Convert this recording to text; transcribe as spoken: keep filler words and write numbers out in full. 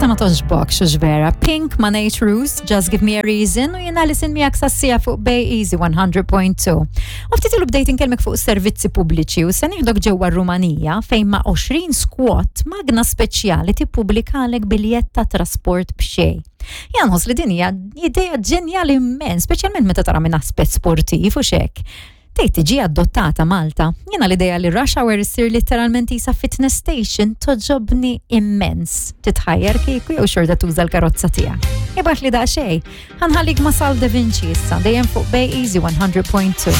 Tista' ma togħġbokx hux vera. Pink ma' Nate Ruess, Just Give Me a Reason, u jiena li miegħek sas-siegħa fuq Bay Easy one hundred point two. U ftit ilu bdejt inkellmek fuq servizzi pubbliċi u se nieħdok ġewwa Rumanija, fejn ma' għoxrin squat magna speċjali tippubblikalek biljett ta' trasport b'xejn. Jien nħoss li din hija idea ġenjali immens, speċjalment meta tara minn aspett sportiv u xek. Tgħid tiġi adottata Malta? Jiena l-idea li rush hour issir literalment isa fitness station togħġobni immens. Titħajjar kieku jew xorta tuża l-karozza tiegħek? Ibgħatli daqsxejn. Ħa nħallik ma' Sal Da Vinci issa, dejjem fuq Bay Easy one hundred point two.